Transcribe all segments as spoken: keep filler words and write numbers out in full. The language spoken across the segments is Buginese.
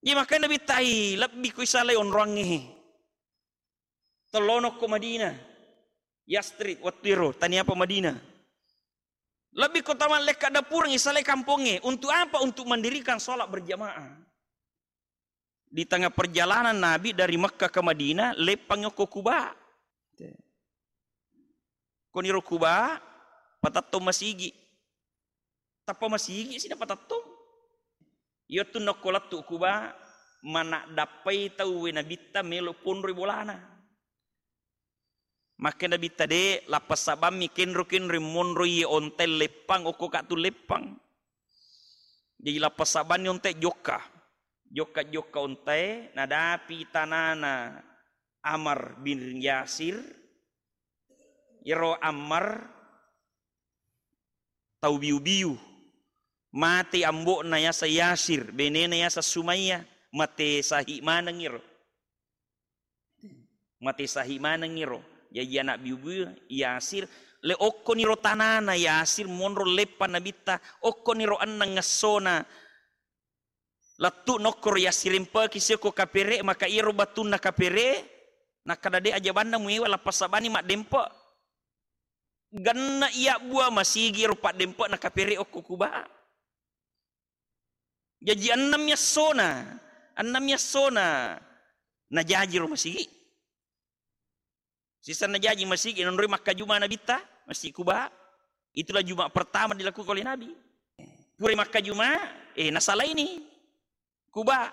Jadi makanya Nabitta, "Ai, lebbi ko isalai onroangnge." Tellono ko Madinah. Yasrib, wettu ero, tania pa Madinah. Lebbi ko tamallekka dapureng isalai kampongnge. Untuk apa? Untuk mendirikan sholat berjamaah. Di tengah perjalanan Nabi dari Mekkah ke Madinah, leppang okko Kuba. Koniro Kuba, patettong masigi. Tappa masigi si napatettong. Iyattu nokko lettu Kuba, manaddappai tauwe Nabitta melo ponroi bolana. Makke Nabitta, de, lappa sabammi kenro-kenro monro iye ontai leppang, okko ka tu leppang. Jadi lappa sabanni ontai jokka. Jokka-jokka ontai, nadapi tanana Ammar bin Yasir. Iyaro Ammar tau biu-biu. Mate ambo'na yaseng Yasir, benena yaseng Sumayyah, mate sahi maneng iro. Mate sahi maneng iro. Jaji anak biu-biu Yasir, le okkoniro tanana Yasir monro leppang Nabitta, okkoniro enneng essona lettu nokkoro yassirempeki siokko kapere, maka iyaro battunna kapere, nakkada de ajabanna muewa lappa sabani maddempe. Genna iya bua masigi ro paddempe'na kapere okko Kuba. Jaji ennemmi essona, ennemmi essona najaji ro masigi. Sisenna jaji masigi nonroi makkajuma Nabitta, Masjid Kuba. Itulah Jumat pertama dilakukan oleh Nabi. Pura makkajuma, eh, nasalaini Kuba.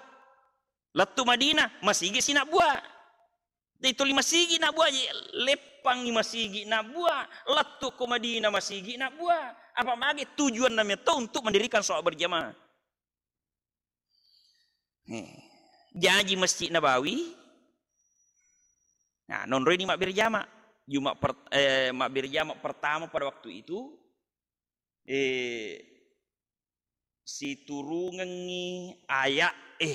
Lettu Madinah, masigi sinabbua. Jadi tuli masigi nabbua, je, leppangi masigi nabbua, lettu ko Madinah masigi nabbua. Apa mage tujuanna metto untuk mendirikan sholat berjamaah. Eh, jaji Masjid Nabawi, nah, nonroi ni mabbere jama. Jumat per-, eh, mabbere jama pertama pada waktu itu, eh, siturungengngi aya'e.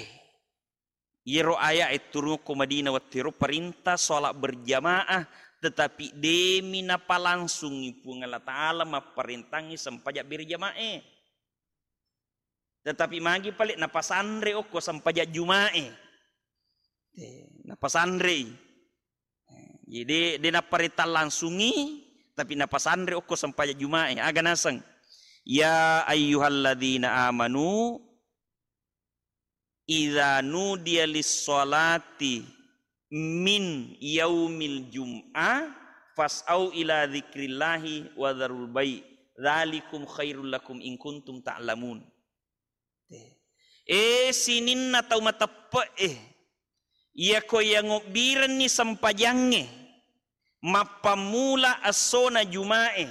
Iyaro aya'e turung ko Madinah wettu ero perintah sholat berjamaah, tetapi demi napalangsungi Puang Allah Ta'ala mapparentangngi sempajang berjamaah e. Tetapi magi pale napasanre okko sempajang Jumae. Eh, napasanrei. Eh, jadi de napparentang langsungi, tapi napasanre okko sempajang Jumae. Aga naseng? Ya ayyuhalladzina amanu, idza nudiya lis-sholati min yaumil jum'ah fas'au ila dzikrillahi wa dzarul bai', dzalikum khairul lakum in kuntum ta'lamun. Eh, sininna tau mateppe'e, iyako yangobbirenni sempajangnge mappammula essona Jumae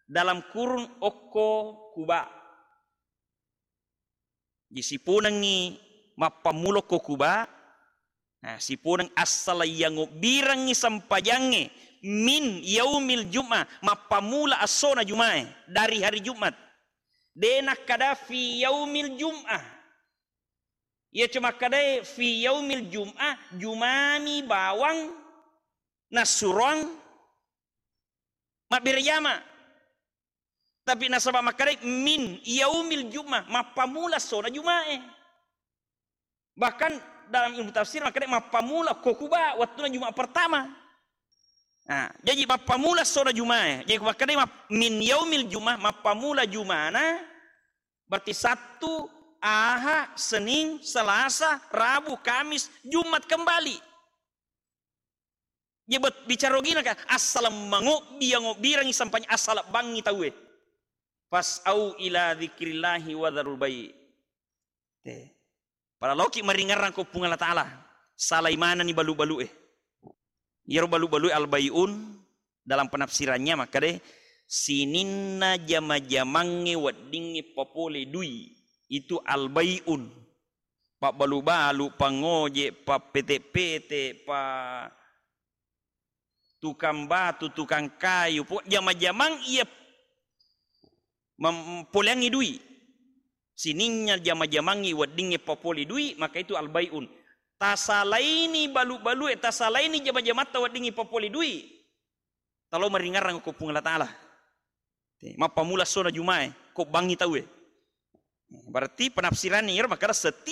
dalam kurung okko Kuba. Jadi siponengngi mappammula ko Kuba, nah, siponeng assala yangobbirengngi sempajangnge min yaumil jum'ah, mappammula essona Jumae dari hari Jumat. De nakkada fi yaumil jum'ah. Iya cuma kadai fi yaumil jum'ah, Jumami bawang nassuroang mabbere jama. Tapi nasaba makkedai min yaumil jum'ah, mappammula essona Jumae. Bahkan dalam ilmu tafsir makkedai mappammula ko Kuba wettuna Jumat pertama. Nah, jadi mappammula essona Jumae. Jadi makkedai map-, min yaumil jum'ah, mappammula Jumana, berarti Sabtu, Aha, Senin, Selasa, Rabu, Kamis, Jumat kembali. Ye bet-, bicara ogina ka, assaleng mangobbi, yangobbirengngi sampajang, assalebbangngi tauwe. Fas'au ila dzikrillahi wa dzarul bai'. Te. Pada loki maringerrang ko Puang Allah Ta'ala. Salai manenni balu-balu'e. Iyaro balu-balu'e al-bai'un dalam penafsirannya makkeda, sininna jama-jamangnge weddingnge papole dui, itu al-bai'un. Pabbalu-balu, pangoje, pappete-pete, pa tukang batu, tukang kayu, po-, jama-jamang iya mem-, poleangngi dui. Sininna jama-jamangngi weddingnge papole dui, maka itu al-bai'un. Tasalaini balu-balue, tasalaini jama-jamatta weddingngi papole dui. Talo maringerrang ko Puang Allah Ta'ala. Te, mappammula essona Jumae, ko bangngi tauwe. Berarti penafsiranna iyaro makkeda setiap